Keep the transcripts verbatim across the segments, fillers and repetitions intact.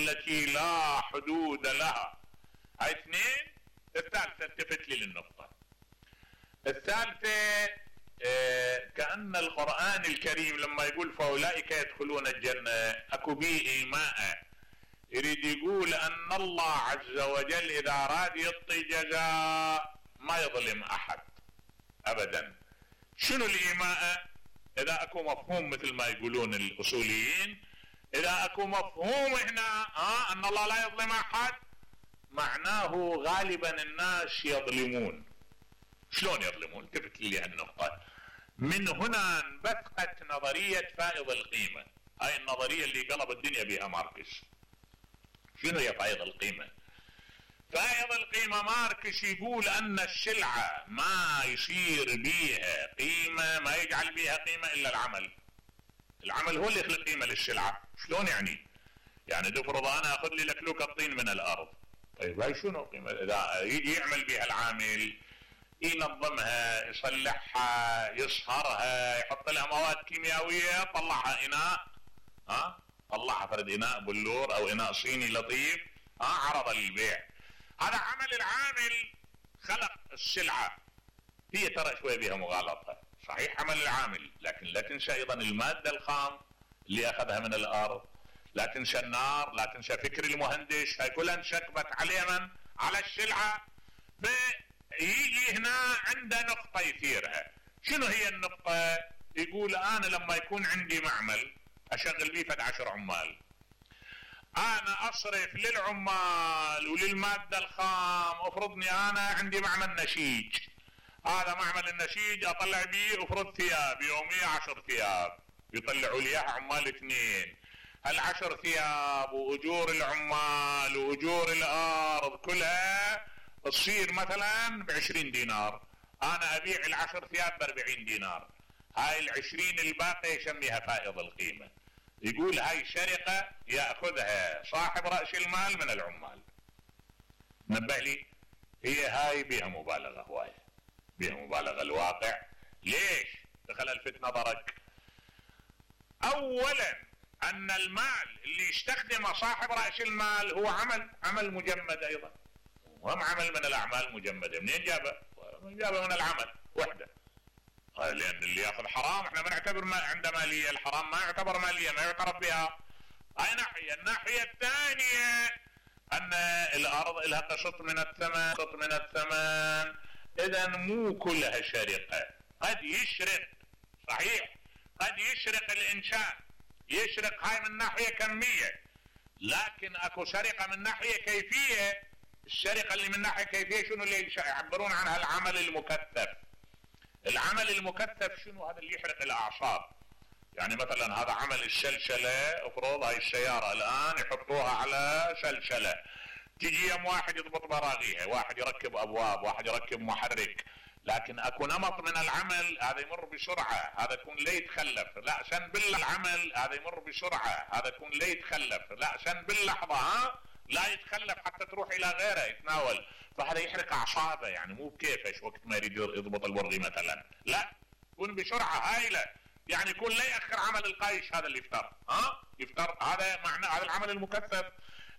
التي لا حدود لها. هاي اثنين. الثالثة التفت لي للنقطة الثالثة. اه كأن القرآن الكريم لما يقول فأولئك يدخلون الجنة اكو بيه ايماء، يريد يقول ان الله عز وجل اذا اراد يعطي جزاء ما يظلم احد ابدا. شنو الايماء؟ اذا اكو مفهوم مثل ما يقولون الاصوليين، اذا اكو مفهوم هنا اه ان الله لا يظلم احد، معناه غالبا الناس يظلمون. شلون يظلمون؟ تفت لي هالنقطة. من هنا انبثقت نظرية فائض القيمة، هاي النظرية اللي قلب الدنيا بها ماركس. شنو هي فائض القيمة؟ فائض القيمة ماركس يقول ان السلعة ما يصير بيها قيمة، ما يجعل بيها قيمة الا العمل. العمل هو اللي يخلق قيمة للسلعة. شلون يعني؟ يعني تفرض انا اخذ لي لكلوك الطين من الارض، طيب هاي شنو قيمة؟ اذا يجي يعمل بيها العامل، ينظمها، يصلحها، يصهرها، يحط لها مواد كيميائية، طلعها اناء، ها طلعها فرد اناء بلور او اناء صيني لطيف، ها عرض للبيع. هذا عمل العامل، خلق السلعة. هي ترى شوية بها مغالطة، صحيح عمل العامل، لكن لا تنسى ايضا المادة الخام اللي اخذها من الارض، لا تنسى النار، لا تنسى فكر المهندس، هاي كلها انشكبت عليه من؟ على السلعة. فيجي هنا عنده نقطة يثيرها. شنو هي النقطة؟ يقول انا لما يكون عندي معمل اشغل بيه فد عشر عمال، انا اصرف للعمال وللمادة الخام. افرضني انا عندي معمل نسيج، هذا معمل النسيج اطلع بيه افرض ثياب يومية عشر ثياب، يطلعوا لي اياها عمال اثنين. هالعشر ثياب واجور العمال واجور الارض كلها تصير مثلا بعشرين دينار، انا ابيع العشر ثياب باربعين دينار. هاي العشرين الباقي يسميها فائض القيمة. يقول هاي سرقة يأخذها صاحب رأس المال من العمال. نبه لي، هي هاي بها مبالغة هواية، بها مبالغة. الواقع ليش دخل الفت نظرك؟ اولا ان المال اللي يستخدمه صاحب رأس المال هو عمل عمل مجمد ايضا، وهم عمل من الاعمال مجمدة. منين جابه؟ جابه من العمل وحده. لان اللي ياخذ حرام احنا ما نعتبر ما عنده مالية، الحرام ما يعتبر مالية، ما يعترف بها. هاي ناحية. الناحية الثانية ان الارض لها قسط من الثمن، قسط من الثمن. اذا مو كلها سرقة، قد يشرق، صحيح قد يشرق الانسان، يشرق هاي من ناحية كمية، لكن اكو سرقة من ناحية كيفية. السرقة اللي من ناحية كيفية شنو اللي يعبرون عنها؟ العمل المكثف. العمل المكثف شنو؟ هذا اللي يحرق الاعصاب. يعني مثلا هذا عمل السلسلة، افرض هاي السيارة الان يحطوها على سلسلة، تجي يوم واحد يضبط براغيها، واحد يركب ابواب، واحد يركب محرك، لكن اكو نمط من العمل هذا يمر بسرعة، هذا يكون لا يتخلف، لا سن بالله العمل هذا يمر بسرعة، هذا يكون لا يتخلف، لا سن باللحظة، ها لا يتخلف حتى تروح الى غيره يتناول. فهذا يحرق اعصابه، يعني مو بكيفش وقت ما يريد يضبط البرغي مثلا، لا يكون بسرعة هائلة، يعني يكون لا يأخر عمل القايش هذا اللي يفتر، ها يفتر. هذا معنى هذا العمل المكثف.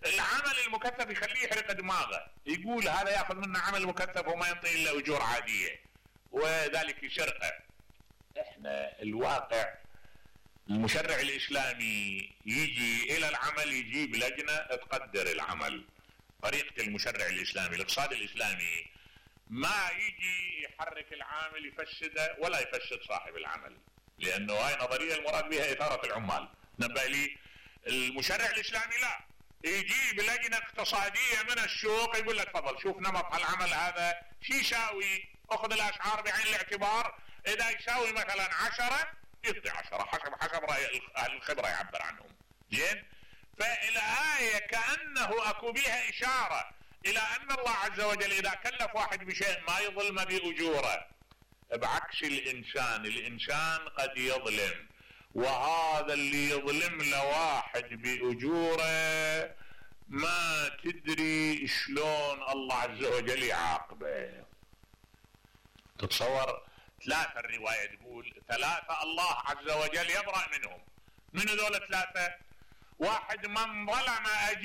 العمل المكثف يخليه يحرق دماغه، يقول هذا ياخذ منا عمل مكثف وما ينطي الا اجور عادية، وذلك يسرقه. احنا الواقع المشرع الاسلامي يجي الى العمل، يجيب لجنة تقدر العمل. طريقة المشرع الاسلامي، الاقتصاد الاسلامي ما يجي يحرك العامل يفسده ولا يفسد صاحب العمل، لانه هاي نظرية المراد بها اثارة العمال. نبه لي، المشرع الاسلامي لا، يجيب لجنة اقتصادية من السوق يقول لك تفضل شوف نمط هالعمل هذا شي يساوي، اخذ الاسعار بعين الاعتبار، اذا يساوي مثلا عشرة يعطي عشرة حسب حسب رأي اهل الخبرة يعبر عنهم. زين. فالآية كأنه اكو بها اشارة الى ان الله عز وجل اذا كلف واحد بشيء ما يظلم باجوره، بعكس الانسان. الانسان قد يظلم، وهذا اللي يظلم لواحد بأجوره ما تدري شلون الله عز وجل يعاقبه. تتصور ثلاثة، الرواية تقول ثلاثة الله عز وجل يبرأ منهم. من هذول ثلاثة؟ واحد من ظلم أجير